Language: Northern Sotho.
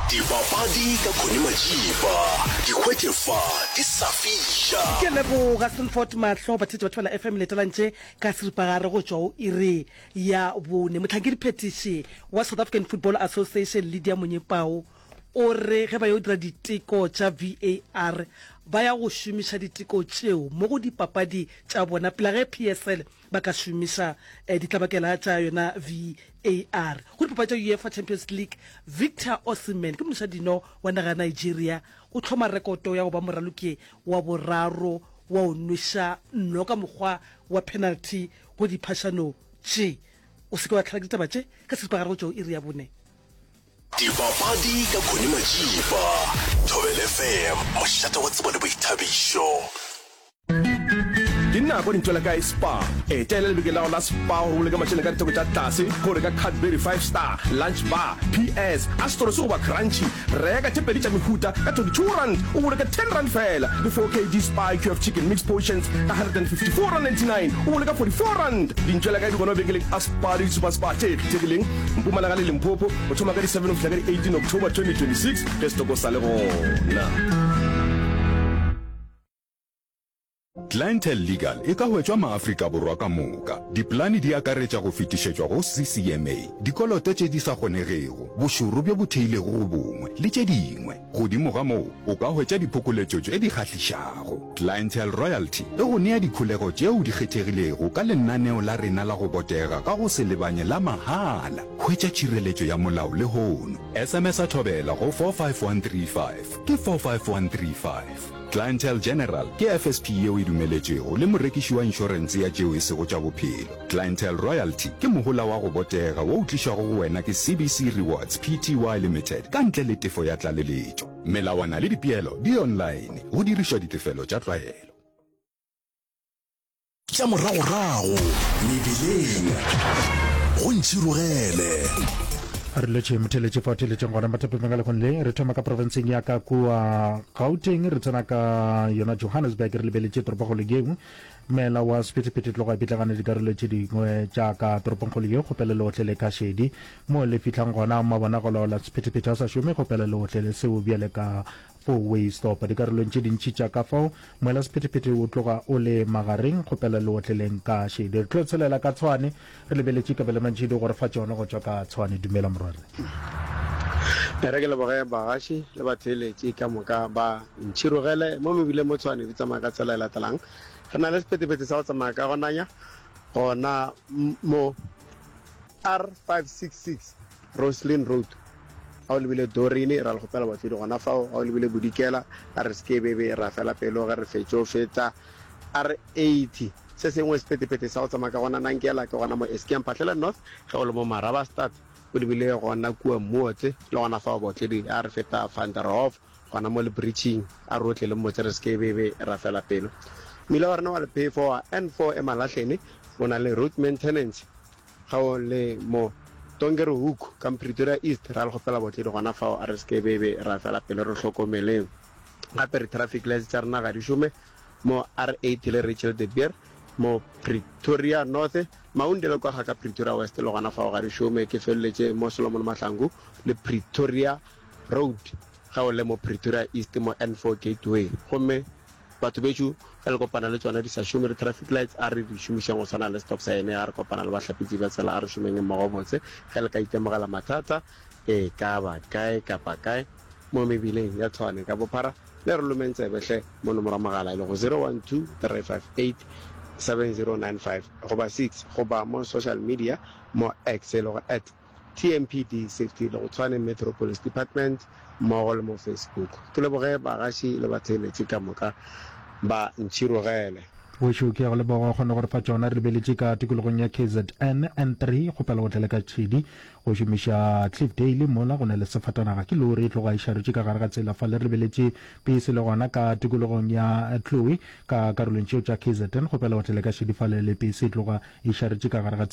Dipapadi ka Connie Majiba, di hwetše fa di sa fiša. Ke leboga Sanford Mahlo, batheetši ba Thobela FM letelantše ka seripagare go tšwa go iri ya bone. Mohlankedi-phethiši wa South African Football Association Lydia Monyepao o re ge ba yo dira diteko tša VAR ba ya go šomiša diteko tšeo mo go dipapadi tša bona pele ge PSL ba ka šomiša ditlabakela tša yona VAR. Go dipapadi tša UEFA Champions League, Victor Osimhen ke monošadino wa naga ya Nigeria o hloma rekoto ya go ba moraloki wa boraro wa go nweša nno ka mokgwa wa penalty go diphašano tše. O se ke wa tlhela ke ditaba tše ka seripagare go tšwa go iri ya bone. Dipapadi ka Connie Majiba, Thobela FM, mošate wa tsebo le boithabišo. Ke nako dintšo la kae Spar? Etela lebenkele la gago la Spar gore o boloke mašeleng ka ditheko tša tlase go reka Cadbury Five Star, Lunch Bar, PS, Astros goba Crunchy. Reka tše pedi tša mehuta ka R22 o boloke R10 feela le 4 kg Spar IQF Chicken Mixed Portions ka R154.99 o boloka R44. Dintšo la kae di gona mabenkeleng a Spar le di-Super Spar tše kgethegileng Mpumalanga le Limpopo go thoma ka di 7 go fihla ka di 18 October 2026 ge setoko sa le gona. Clientele Legal e ka hwetšwa maAfrika Borwa ka moka. Dipolane di akaretša go fetišetšwa go CCMA, dikoloto tše di sa kgonegego, bošoro bjo bo theilego go bongwe, le tše dingwe. Godimo ga moo, o ka hwetša diphokoletšo tše di kgahlišago. Clientele Royalty e go nea dikholego tšeo di kgethegilego ka lenaneo la rena la go botega ka go se lebanye la mahala. Hwetša tšhireletšo ya molao lehono. SMS-a Thobela go 45135. Ke 45135. Clientele General ke FSP yeo e dumeletšwego le morekiši wa inšorense ya tšeo e sego tša bophelo. Clientele Royalty ke mohola wa go botega wo o tlišwago go wena ke CBC Rewards Pty Limited ka ntle le tefo ya tlaleletšo. Melawana le dipeelo di online go dirišwa ditefelo tša tlwaelo. Tša moragorago mebileng go ntšhirogele. Re letše motheletše fa theletšeng gona mathapemeng a lekgong le re thoma ka profenseng ya ka kua Gauteng re tsena ka yona Johannesburg re lebeletše toropokgolo yeo mela wa sephethephethe tloga e pitlagane dikarolo tše dingwe tša ka toropongkgolo yeo kgopelo leohle le ka šedi mo le fihlang gona mabona go laola sephethephethe a sa šome kgopelo leohle le seo bjale ka Four-way stop. Dikarolong tše dintši tša ka fao, moelasephethephethe o tloga o le magareng, kgopela le otleleng ka šedi. Re tlo tshelela ka Tshwane, re lebeletše Kabelo Mantšhidi go re fa tšona go tšwa ka Tshwane. Dumela morwarre. E re ke leboge bagaši le batheeletši ka moka ba ntšhirogele mo mebileng mo Tshwane di tsamaya ka tsela e latelang. Re na le sephethephethe sa go tsamaya ka go nanya gona mo R566 Roslyn Road. Ga o lebile Doreen, ra le kgopela batlodi gona fao. Ga o lebile Bodikela, a re se ke be be ra fela pelo ge re fetšo feta R80. Se sengwe sephethephethe sa go tsamaya ka gona Nankela ke gona mo Eskia Mphahlele North, ge o le mo Marabastad o lebile gona kua Mmuotse, le gona fao baotledi a re feta Van der Hoff gona mo Lebridging, a re otlele mmotse re se ke be be ra fela pelo. Mmila wa rena wa lephefo wa N4 Emalahleni o na le road maintenance Ga o le mo Donkerhoek ka Pretoria East, ra le kgopela botledi gona fao, a re se ke be be ra fela pelo re hlokomeleng. Gape re traffic lights tša rena ga di šome mo R8 le Rachel de Beer mo Pretoria North, Maunde le kwa ga ka Pretoria West le gona fao ga di šome. Ke feleletše mo Solomon Mahlangu le Pretoria Road ge o le mo Pretoria East mo N4 Gateway. Gomme Batho bešo ge le kopana le tšona di sa šome di traffic lights a re di šomišeng go swana le stop sign ga re kopana le bahlapetši ba tsela a re šomeng mmogo botse ge le ka itemogela mathata e ka ba kae kapa kae mo mebileng ya Tshwane ka bophara le re lomeng tsebe hle mo nomoro ya mogala e lego 012 358 7095 goba 6 goba mo social media mo X e lego at TMPD Safety le go Tshwane Metro Police Department mmogo le mo Facebook. Ke leboge bagaši le batheeletši ka moka ba ntšhirogele. Wešo ke ya go leboga o kgone go re fa tšona. Re lebeletše ka tikologong ya KZN N3 kgopela go tlele ka tšhedi go šomiša Cliffdale mola go na le sefatanaga ke lori e tloga e šaretše ka gare ga tsela fale. Re lebeletše pese le gona ka tikologong ya Chloe ka karolong tšeo tša KZN kgopela go tlele ka šedi fale le pese e tloga e šaretše ka gare ga tsela.